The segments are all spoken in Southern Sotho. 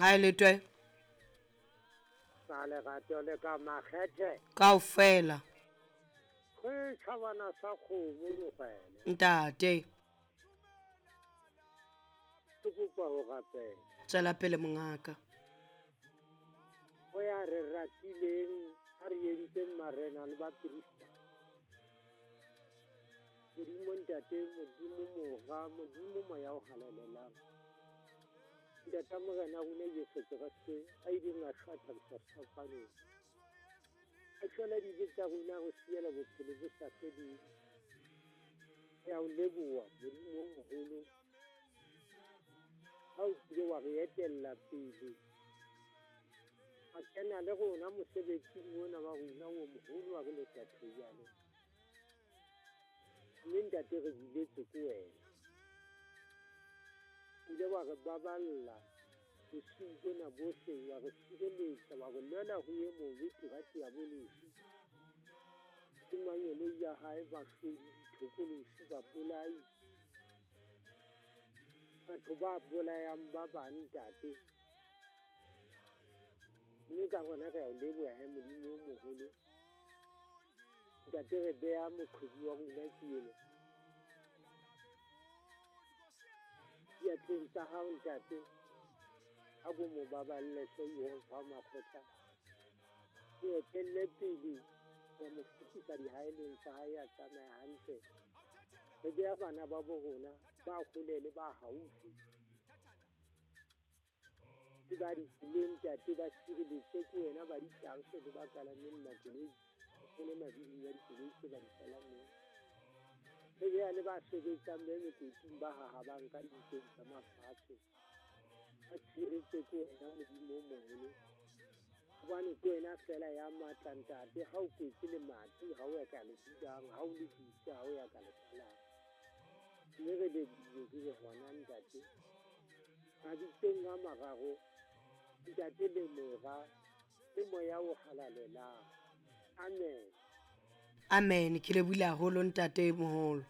Ha e letwe. Ka lerato le ka makgethe. Kaofela. Ke tjhabana sa kgomo mogwele. Ntate. Ke kopa ho rapela. Tswela pele mongaka. Ho ya re ratileng a re entseng marena le baprista. Modimo Ntate, Modimo Mora, Modimo Moya o Halalelang. Ntata Morena rona Jesu Kreste a ileng a shwa thabisa sefapanong. A shwela dibe tsa rona re siela bophelo bo sa feleng. Re a o leboha Modimo o moholo. Ha o kile wa re etella pele. A kena le rona mosebetsing ona wa rona o moholo wa re le Tathoyane. Mme ntate re biletswe ke wena. O ile wa re baballa bosiu bona bohle, wa re sireletsa, wa re lwela ho e mobe tira diabolosi. Le mangeloi ya hae bahlodi, dithokolosi, babolai. Batho ba bolayang ba bang ntate. Mme ka gona re a o leboha he Modimo o moholo. Ntate re beha moqhobi wa rona ke ena. Diatleng tsa hao ntate, a ko mo baballe hle Jehova makgotla. O etelle pele wa mo fetisa dihaelong tsa hae a tsamaya hantle. Re beha bana ba bo rona ba hole le ba haufi. Le ba ditseleng ntate ba sireletse ke wena ba ditanse le ba kalameng makoloi. Le mabidi ya dikoloi tse ba di palameng. Re beha le ba sebetsang be mekoting ba hahabang ka dintong tsa mafatshe. Ba tshiretse ke wena Modimo o moholo. Hobane ke wena fela ya matla ntate, ha o kwetse lemati, ha o ya ka le bulang, ha o le butse, ha o ya ka le kwalang. Mme re lebohile ke le hona ntate. Mabitsong a mararo, ntate le Mora, le Moya o Halalelang. Amen. Amen. Ke lebohile haholo ntate moholo.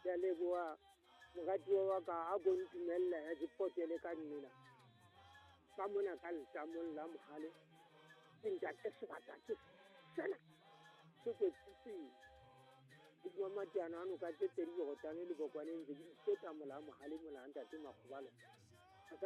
Ke a leboha moratuwa wa ka, a ko ntumelle he ke potele ka nnena. Ka mona ka letamong la mohale. Ke ntate sebata ke sena se kwetse pele. Hodima mateano a noka tse pedi borotane le bokwane ntse ke di feta mola mohale mola ntate Makgobalo.